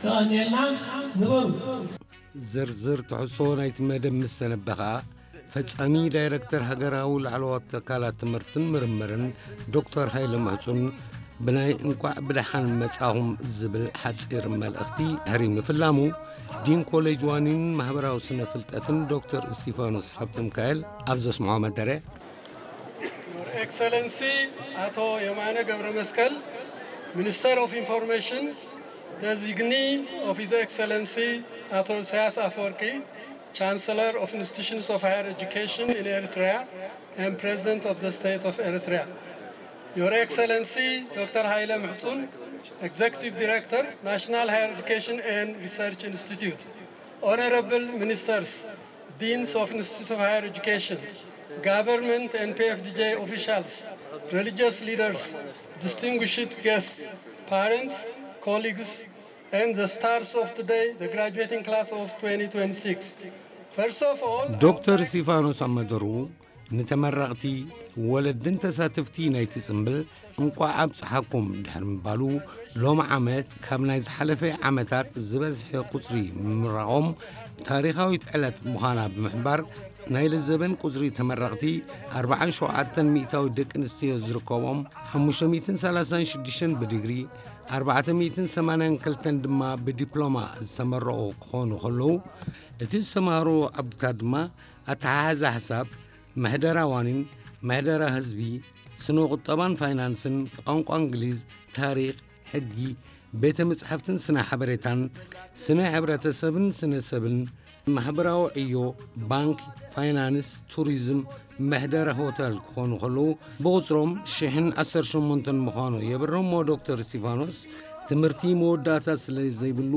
የቐንየልና። ንበሩ። ዝርዝር ትሕዝቶ ናይቲ መደብ ምስ ተነበኻ፣ ፈጻሚ ዳይረክተር ሃገራዊ ላዕለዎት ትካላት ትምህርትን ምርምርን ዶክተር ሃይለ ምሕጹን ብናይ እንቋዕ ብደሓን መጻኹም ዝብል ሓጺር መልእኽቲ ድሕሪ ምፍላሙ፣ ዲን ኮሌጅ ዋኒን ማህበራዊ ስነ ፍልጠትን ዶክተር እስቲፋኖስ ሃብተሚካኤል ኣብ ዘስምዖ መደረ፣ Your Excellency Ato Yemane ገብረመስቀል, Minister of Information, Designee of His Excellency Ato Isaias Afwerki, Chancellor of Institutions of Higher Education in Eritrea and President of the State of Eritrea. Your Excellency Doctor Haile Mhutsun, Executive Director, National Higher Education and Research Institute. Honorable Ministers, Deans of Institute of Higher Education, government and P F D J officials, religious leaders, distinguished guests, parents, colleagues, and the stars of today, the graduating class of twenty twenty-six. First of all, I would ዶክተር like እስቲፋኖስ ኣብ መደሩ፣ ንተመረቕቲ፣ ወለድን ተሳተፍቲ ናይቲ ጽምብል እንቋዕ ኣብጽሓኩም ድሕሪ ምባሉ፣ ሎሚ ዓመት ካብ ናይ ዝሓለፈ ዓመታት ዝበዝሐ ቁጽሪ ምምራቖም ታሪኻዊት ዕለት ምዃና ብምሕባር፣ ናይ ለዘበን ቁጽሪ ተመረቕቲ ኣርባዓን ሸውዓተን ሚእታዊ ደቂ ኣንስትዮ ዝርከቦም፣ ሓሙሽተ ሚእትን ሰላሳን ሽዱሽተን ብዲግሪ፣ ኣርባዕተ ሚእትን ሰማንያን ክልተን ድማ ብዲፕሎማ ዝተመረቑ ክኾኑ ከለዉ፣ እቲ ዝተማህርዎ ዓውድታት ድማ ኣተሓሕዛ ሓሳብ፣ ምሕደራ ዋኒን፣ ምሕደራ ህዝቢ፣ ስነ ቁጠባን ፋይናንስን፣ ቋንቋ እንግሊዝ፣ ታሪኽ፣ ሕጊ፣ ቤተ መጻሕፍትን ስነ ሓበሬታን፣ ስነ ሕብረተሰብን ስነ ሰብን፣ ማሕበራዊ ዕዮ፣ ባንክ፣ ፋይናንስ፣ ቱሪዝም፣ ምሕደራ ሆተል ክኾኑ ከለዉ፣ ብቑጽሮም ሽሕን ዓሰርተ ሸሞንተን ምዃኑ የብረሞ ዶክተር እስቲፋኖስ፣ ትምህርቲ መወዳእታ ስለ ዘይብሉ፣